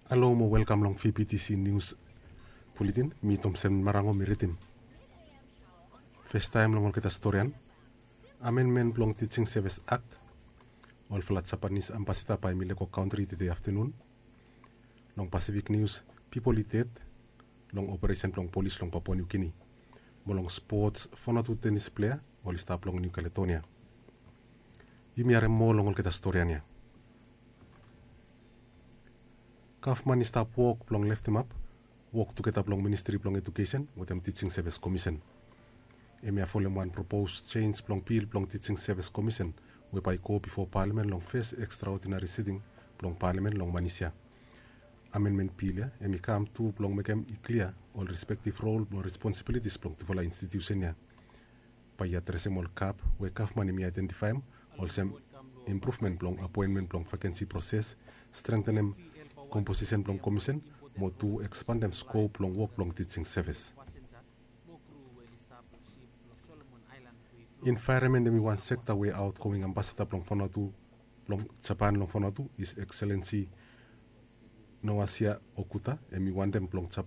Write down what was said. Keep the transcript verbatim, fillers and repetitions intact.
Halo mo welkam long V P T C Nius Buletin. Mi Tomsen Marango mi ridim. Festaem long olgeta storian, amenmen blong Tijing Sevis Akt. Olfala Japanis ambasada bae mi lego kantri tede aftanun. Long Pasifik Nius, pipol i ded long operesen blong polis long Papua Niu Gini. Mo long spots, Vanuatu tenis plea oli stap long Niu Kaledonia. Yumi harem moa long olgeta storian ya. Gavman i stap wok blong leftemap wok tugeta blong Ministri blong Ejukesen wetem Tijing Sevis Komisen. Hemia folem wan propos jenis blong bil blong Tijing Sevis Komisen we bae i go bifo palamen long fes ekstraodinari siting blong palamen long manis ya. Amenmen bil ya hem i kam tu blong mekem i klia ol respektiv rol blong responsibilitis blong tufala institiusen ya. Bae i adresem ol gap we gavman hem i aedentifaem olsem impruvmen blong apoenmen blong vakensi proses, strengtenem komposisen blong komisen, mo tu ekspandem skop blong wok blong Tijing Sevis. Envaeronmen hem i wan sekta we aotgoing ambasada blong Vanuatu blong Japan long Vanuatu, His Excellency Noasia Okuda, hem i wantem blong Japan